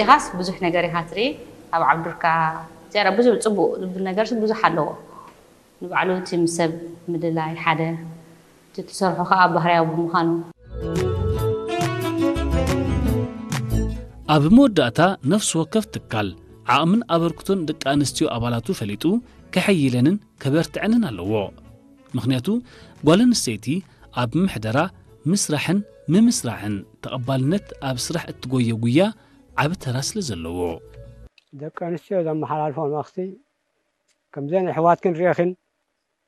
ኢኻስ ብዙሕ ነገር ኢኻ ትርኢ። ኣብ ዓብዱርካ ዝያዳ ብዙሕ ጽቡቕ ዝብል ነገር ብዙሕ ኣለዎ። ንባዕሉ እቲ ምስ ሰብ ምልላይ ሓደ፣ እቲ ትሰርሖ ከዓ ባህርያዊ ብምዃኑ። ኣብ መወዳእታ ነፍሲ ወከፍ ትካል ዓቕምን ኣበርክቶን ደቂ ኣንስትዮ ኣባላቱ ፈሊጡ ከሐይለንን ከበርትዐንን ኣለዎ። ምኽንያቱ ጓል ኣንስተይቲ ኣብ ምሕደራ ምስራሕን ምምስራሕን ተቐባልነት ኣብ ስራሕ እትጎዮ ጉያ ዓቢ ተራ ስለ ዘለዎ። ደቂ ኣንስትዮ ዘመሓላልፎ መልእኽቲ ከምዘን ኣሕዋትክን ርኢኽን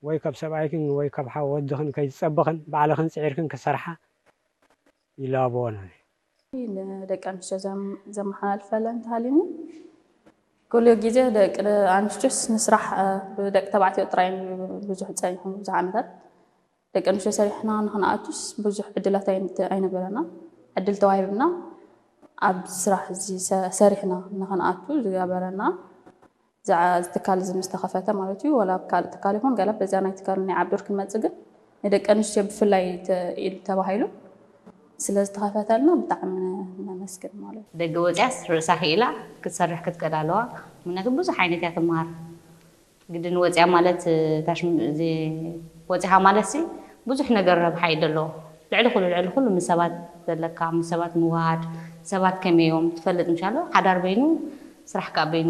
ወይ ካብ ሰብኣይክን ወይ ካብ ሓው ወድኽን ከይትጸብኽን ባዕልኽን ጽዒርክን ክሰርሓ ይላበወን። ንደቂ ኣንስትዮ ዘመሓላልፈለን እንተሃልዩኒ ኩሉ ግዜ ደቂ ኣንስትዮስ ንስራሕ ብደቂ ተባዕትዮ ጥራይ ብዙሕ ፀኒሑ ብዙሕ ዓመታት ደቂ ኣንስትዮ ሰሪሕና ንክንኣቱስ ብዙሕ ዕድላት ኣይነበረና። ዕድል ተዋሂብና ኣብ ስራሕ እዚ ሰሪሕና ንክንኣቱ ዝገበረና ትካል እዚ ምስ ተኸፈተ ማለት እዩ። ዋላ ኣብ ካልእ ትካል ይኹን ገለ በዚኣ ናይ ትካል ናይ ዓብዱር ክንመጽእ ግን ንደቂ ኣንስትዮ ብፍላይ ኢሉ ተባሂሉ ስለ ዝተኸፈተልና ብጣዕሚ ነመስግን ማለት እዩ። ደገ ወፂኣስ ርእሳ ክኢላ ክትሰርሕ ክትቀዳለዋ ምክንያቱ ብዙሕ ዓይነት እያ ትመሃር። ግድን ወፂኣ ማለት ታሽም እዚ ወፂኻ ማለት ሲ ብዙሕ ነገር ረብሓ እዩ ዘለዎ። ልዕሊ ኩሉ ልዕሊ ኩሉ ምስ ሰባት ዘለካ ምስ ሰባት ምውሃድ ሰባት ከመይ እዮም ትፈልጥ ምሻሎ ሓዳር በይኑ ስራሕ ከዓ በይኑ